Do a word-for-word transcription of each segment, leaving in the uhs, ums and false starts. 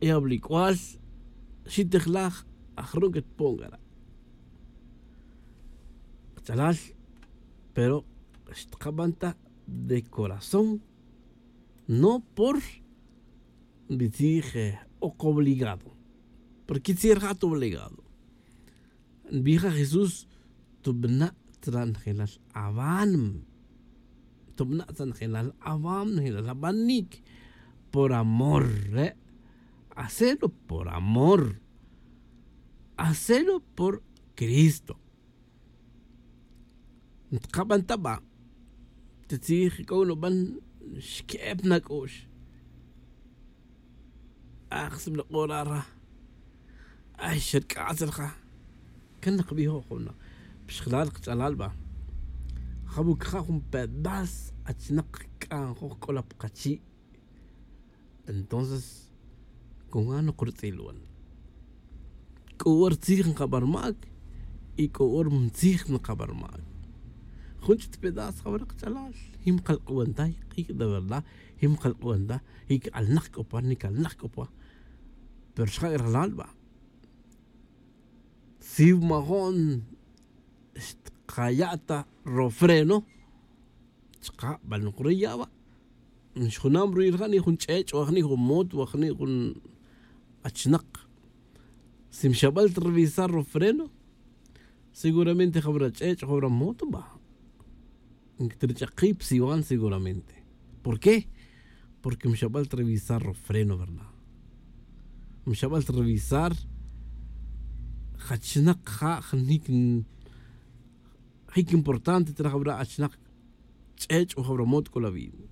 e ablic'ual, xitejlaj, ajru' que tpon c'a re' kach'alal. Pero xtkaban ta de corazón, no por nbitzij ok obligado, porque quitzij rija' ta obligado. Nbij ja jesús, tubna' tzra' njelal aban, tubna' tzra' njelal aban njelal abanic. Por amor re', hacelo por amor, hacelo por cristo. Ntkaban ta ba' tatzij c'o nuban, xque'ep na c'ux. Aj sibla k'ora' ra. Ay xerc'atz' rija'. Can nkabijo' jun na pixjelal kach'alal ba'. Jabuc ja jun pedaz achnak kc'anjoj c'ola pa kachi'. Entonces con ja nokrutz'il wan, c'o hora tzij nkaba rmac, y c'o hora mtzij nkaba rmac. Jun ch'it pedaz jawara' kach'alal, jin mkalk'uwan ta jic' de verdad, jin mkalk'uwan ta jic' alnak c'o pa, nic alnak c'o pa. Pero xja' rajlal ba', si wamajo'n xtkaya' ta rofreno, chka' bal nukruya' wa'. Xjunam ruwi' rija' ni jun ch'ech' wa jni' jun mot wa jni' jun achnak. Si mxabal ta revisar rofreno, seguramente jawara ch'ech' jawara mot ba' nctrich'ak kib siwan seguramente. ¿Por qué? Porque mxabal ta revisar rofreno verdad, mxabal ta revisar jachnak ja' jnik. Jic importante tzra' jawara' achnak ch'ech' o jawara mot c'o la vida.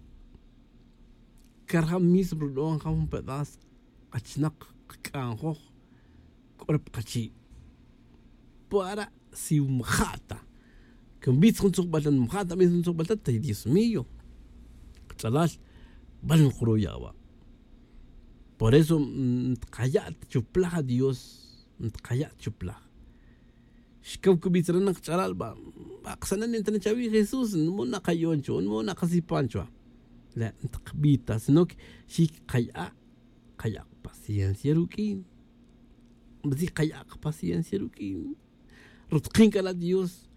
Carja' mismo rudo'on ja jun pedaz achnak kc'anjoj c'o ra pa kachi'. Para si mja' ta, que nbitz jun tzujbal ta mja' ta bitz jun tzujbal ta ta dios mío, kach'alal, bal nkruya' wa'. Por eso ntkaya' ta chuplaj a dios, ntkaya' ta chuplaj. Xcaw cubitz re' nak ch'alal ba', ba' ksanen nta na chawi' jesús nmu' na kayo'on chuwa nmu' na kasipan chuwa. La' nta kbita sino que xi kaya', kaya' paciencia ruq'uin. Nbitzi kaya' paciencia ruq'uin. Rutkin c'a la' dios.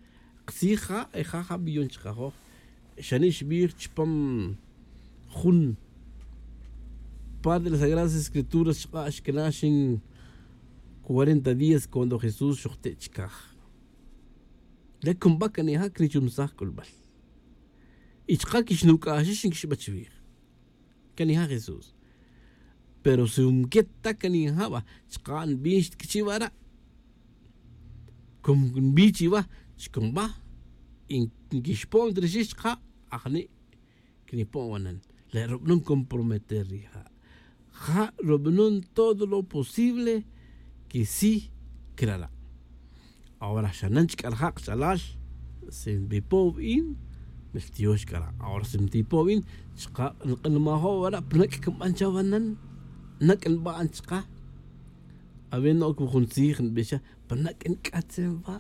Ktzij ja' e ja ja biyon chkajoj. Xani' xbij chupam jun par de las sagradas escrituras chka' xkana' xin cuarenta días cuando jesús xojte' chkaj. Le cumba canija' crichumsaj c'ulbal. Y chka' quixnuc'axix nquixba chwij. Canija' jesús. Pero si nquet ta canija' ba chka' nbix ta quichi' wara'. Como nbix chiwa chcumba y nquixpo'n ta rixix chka' ajni' quinipo'n wanan. Le' rubanon comprometer rija'. Ja' rubanon todo lo posible que si crala'. Ahora xanan chc'a rija' kach'alal. Si nbipo' win, miltiox c'a ra'. Ahora si ntipo' win, chka' nk'anmajo' wara' pa naq' cnban chawanan. Naq' nban chka'. Awe' no'oc wi jun tzij nbix cha pa naq' nc'atzin wa'.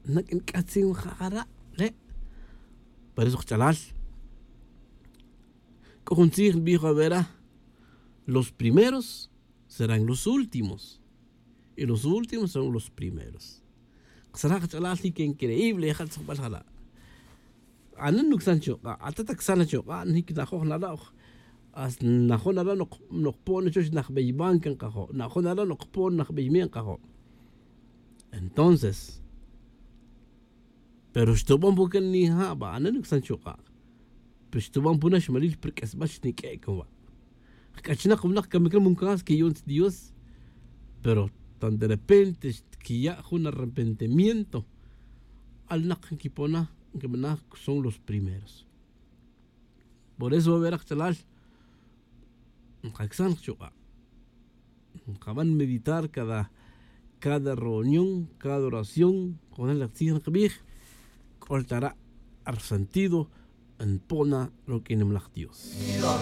Naq' nc'atzin ja' jara' le'. Por eso kach'alal, c'o jun tzij nbij awe' ra, los primeros serán los últimos y los últimos serán los primeros. Ksaraj kach'alal jic increíble ja' tzujbal jara'. Ana nucsan chuk'a' ata ta csan achuk'a' nic najoj nara'. Hasta najoj nara' nokpo'n chuch najbey banca nkajo' najoj nara' nokpo'n najbey mi' nkajo'. Entonces pero xtuban pu can nija' ba ana nucsan chuk'a'. Pero xtuban pu naxmalil pa rq'uesbal xniq'ue' can wa'. Jc'achnak winak camic na muncas que yu'un ta dios. Pero tan de repente xtquiya' jun arrepentimiento, alnak nquipona nquibana que son los primeros. Por eso va a ver ajchalal nkacsan kachuk'a'. Nkaban meditar cada cada reunión, cada oración. Conel lak tzij nkabij c'ol ta ra' rsentido npona ruq'uin nimalaj dios.